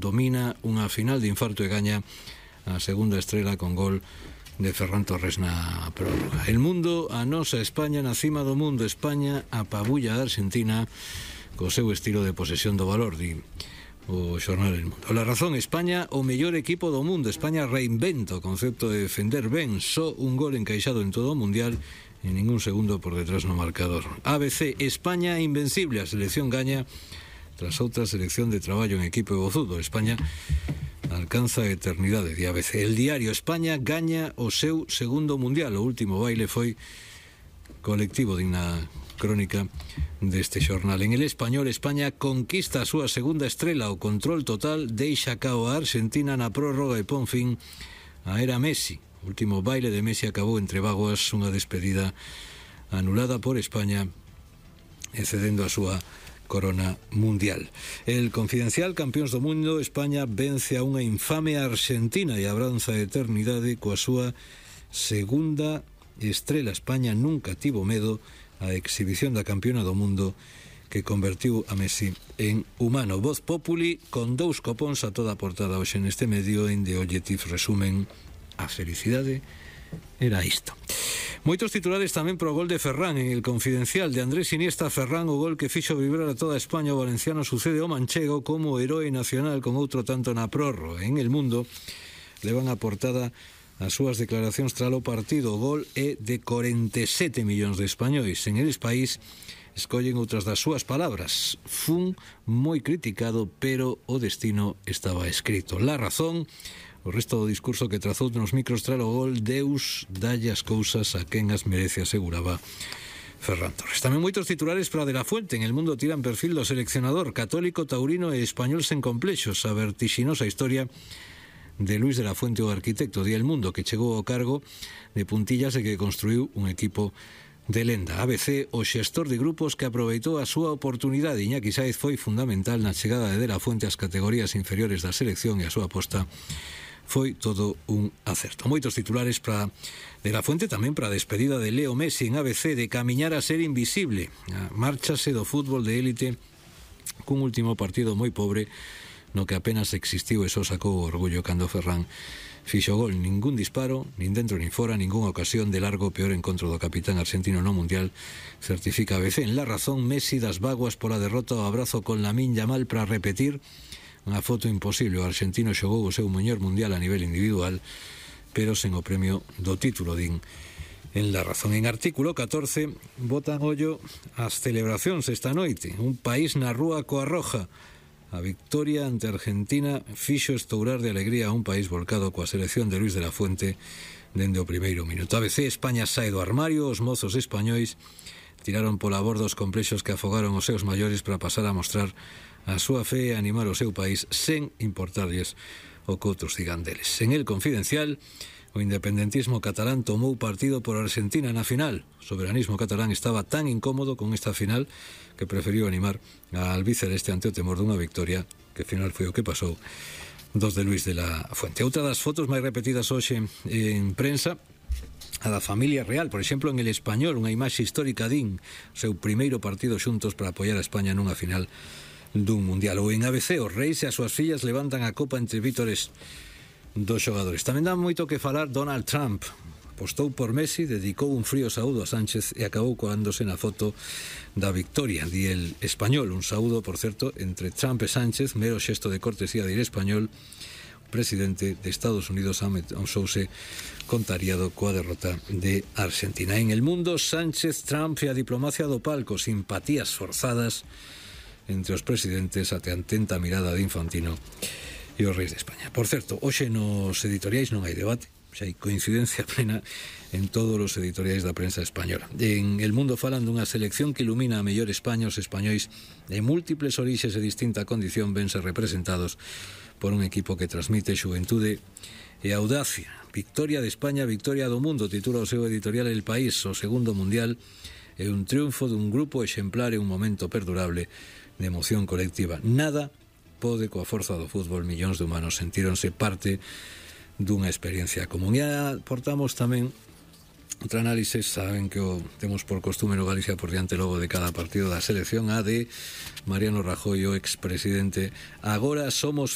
domina unha final de infarto e gaña a segunda estrela con gol de Ferran Torres na prórroga. El mundo, a nosa España na cima do mundo. España apabulla a Argentina co seu estilo de posesión do valor, di o xornal El Mundo. La Razón: España o mellor equipo do mundo. España reinventa o concepto de defender ben, só un gol encaixado en todo o mundial e ningún segundo por detrás no marcador. ABC: España invencible, a selección gaña tras outra selección de traballo en equipo e bozudo. España alcanza a eternidade, de ABC. El Diario: España gaña o seu segundo mundial. O último baile foi colectivo, digna crónica deste xornal. En El Español: España conquista a súa segunda estrela. O control total deixa cao a Argentina na prórroga e pon fin a era Messi. O último baile de Messi acabou entre vagoas, unha despedida anulada por España e cedendo a súa corona mundial. El Confidencial: campións do mundo, España vence a unha infame Argentina e abranza a eternidade coa súa segunda estrela. España nunca tivo medo a exhibición da campiona do mundo que convertiu a Messi en humano. Voz Populi, con 2 copóns a toda a portada hoxe neste medio, en The Objective resumen: a felicidade era isto. Moitos titulares tamén pro gol de Ferran en El Confidencial. De Andrés Iniesta a Ferran, o gol que fixo vibrar a toda España. O valenciano sucede ao manchego como heroe nacional con outro tanto na prórroga. En El Mundo levan a portada as súas declaracións tras o partido. O gol é de 47 millóns de españois. En El País escollen outras das súas palabras: fun moi criticado, pero o destino estaba escrito. La Razón: o resto do discurso que trazou nos micros tras o gol: Deus dalle as cousas a quen as merece, aseguraba Ferran Torres. Tamén moitos titulares para De La Fuente. En El Mundo tiran perfil do seleccionador: católico, taurino e español sen complexos. A vertixinosa historia de Luis de la Fuente, o arquitecto. Di El Mundo que chegou ao cargo de puntillas e que construiu un equipo de lenda. ABC: o xestor de grupos que aproveitou a súa oportunidade. Iñaki Sáez foi fundamental na chegada de la Fuente ás categorías inferiores da selección e a súa aposta foi todo un acerto. Moitos titulares para De La Fuente, tamén para a despedida de Leo Messi en ABC: de camiñar a ser invisible. Márchase do fútbol de élite cun último partido moi pobre no que apenas existiu e só sacou o orgullo cando Ferran fixo gol. Ningún disparo, nin dentro nin fora, ningunha ocasión de largo. Peor encontro do capitán argentino no mundial, certifica ABC. En La Razón: Messi das vaguas pola derrota. O abrazo con Lamine Yamal para repetir unha foto imposible. O argentino xogou o seu mellor mundial a nivel individual, pero sen o premio do título, din en La Razón. En Artículo 14 botan ollo ás celebracións esta noite. Un país na rúa coa roja. A victoria ante Argentina fixo estourar de alegría a un país volcado coa selección de Luis de la Fuente dende o primeiro minuto. ABC: España sae do armario. Os mozos españois tiraron pola borda os complexos que afogaron os seus maiores para pasar a mostrar a súa fe e animar o seu país sen importarlles o que outros digan deles. En El Confidencial: o independentismo catalán tomou partido por Argentina na final. O soberanismo catalán estaba tan incómodo con esta final que preferiu animar a albiceleste ante o temor dunha victoria, que ao final foi o que pasou, dos de Luis de la Fuente. Outra das fotos máis repetidas hoxe en prensa, a da familia real. Por exemplo, en El Español, unha imaxe histórica din o seu primeiro partido xuntos para apoiar a España nunha final dun mundial. Ou en ABC: os reis e as súas fillas levantan a copa entre vítores dos xogadores. Tamén dá moito que falar Donald Trump. Apostou por Messi, dedicou un frío saúdo a Sánchez e acabou coándose na foto da victoria. Di El Español: un saúdo, por certo, entre Trump e Sánchez, mero xesto de cortesía de Ir Español. O presidente de Estados Unidos amosouse contrariado coa derrota de Argentina. En El Mundo: Sánchez, Trump e a diplomacia do palco. Simpatías forzadas entre os presidentes ate a atenta mirada de Infantino e os reis de España. Por certo, hoxe nos editoriais non hai debate, xa hai coincidencia plena en todos os editoriais da prensa española. En El Mundo falan dunha selección que ilumina a mellor España. Os españois de múltiples orixes e distinta condición vense representados por un equipo que transmite xuventude e audacia. Victoria de España, victoria do mundo, titula o seu editorial El País. O segundo mundial é un triunfo dun grupo exemplar e un momento perdurable de emoción colectiva. Nada pode coa forza do fútbol. Millóns de humanos sentíronse parte dunha experiencia común. E aportamos tamén outra análise. Saben que o temos por costume no Galicia por diante logo de cada partido da selección, a de Mariano Rajoy, o expresidente. Agora somos